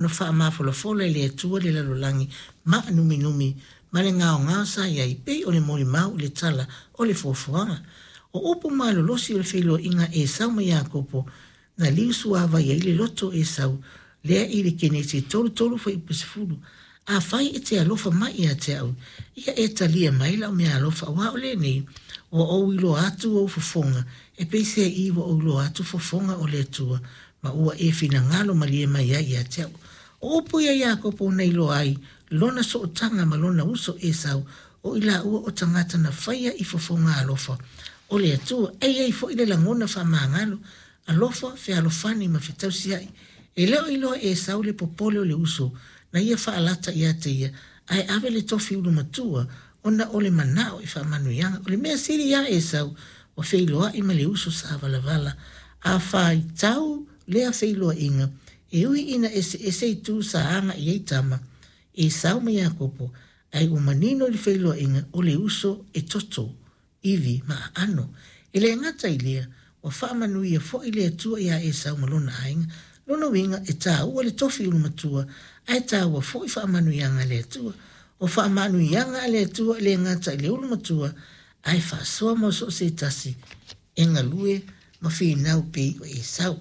Ona faamafolafola e le Atua le lalolagi maanuminumi ma le gaogao sa i ai, pei o le molimau i le tala o le foafoaga. O upu malolosi o le feiloaiga a Esau ma Iakopo na liusuavai ai le loto o Esau, lea i le Kenese 33 fuaiupu 10, Afai e te alofa mai ia te au, ia e talia mai lau meaalofa, aua o lenei, ua ou iloa atu ou fofoga, e peiseai ua ou iloa atu fofoga o le Atua, ma ua e finagalo malie mai ai ia te au. O upu ia a Iakopo na iloa ai lona sootaga ma lona uso Esau, o i laua o tagata na faia i fofoga alofa o le Atua. E i ai foi le lagona faamagalo, alofa, fealofani ma fetausia'i. E le o iloa e Esau le popole o le uso na ia faalata ia te ia, ae ave le tofi ulu matua ona o le manao i faamanuiaga. O le mea sili ia Esau, ua feiloai ma le uso sa valavala. A faitau lea feiloaiga, e ui ina eseese itu sa agai i ai tama, Esau ma Iakopo, ae ua manino i le feiloaiga o le uso e toto, ivi ma aano. E le gata i lea, ua faamanuia foi le Atua iā Esau ma lona aiga. Lona uiga, e taua le tofi ulumatua, ae taua foi faamanuiaga a le Atua. O faamanuiaga a le Atua e le gata i le ulumatua, ae faasoa mo so o se tasi e galue ma finau pei o Esau.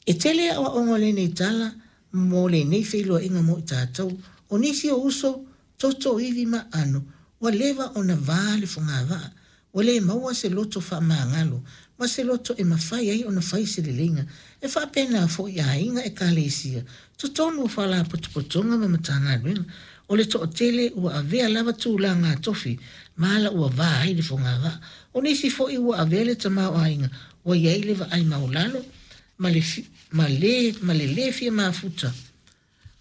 E tele aoaoga o lenei tala mo lenei feiloaiga mo i tatou. O nisi o uso, toto, ivi ma aano, ua leva ona va le fogavaa. Ua le maua se loto faamagalo ma se loto e mafai ai ona fai se leleiga. E faapena foi i aiga, ekalesia, totonu o faalapotopotoga ma Matagaluega. O le toatele ua avea lava tulaga tofi ma ala ua va ai le fogavaa. O nisi foi ua avea le tamaoaiga ua i ai le vaai maualalo ma le, ma le, ma le lē fia mafuta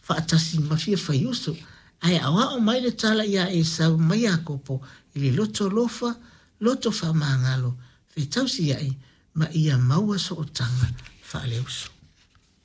faatasi ma fia faiuso. Ae aoao mai le tala iā Esau ma Iakopo i le loto alofa, loto faamagalo, fetausia'i ma ia maua sootaga faaleuso.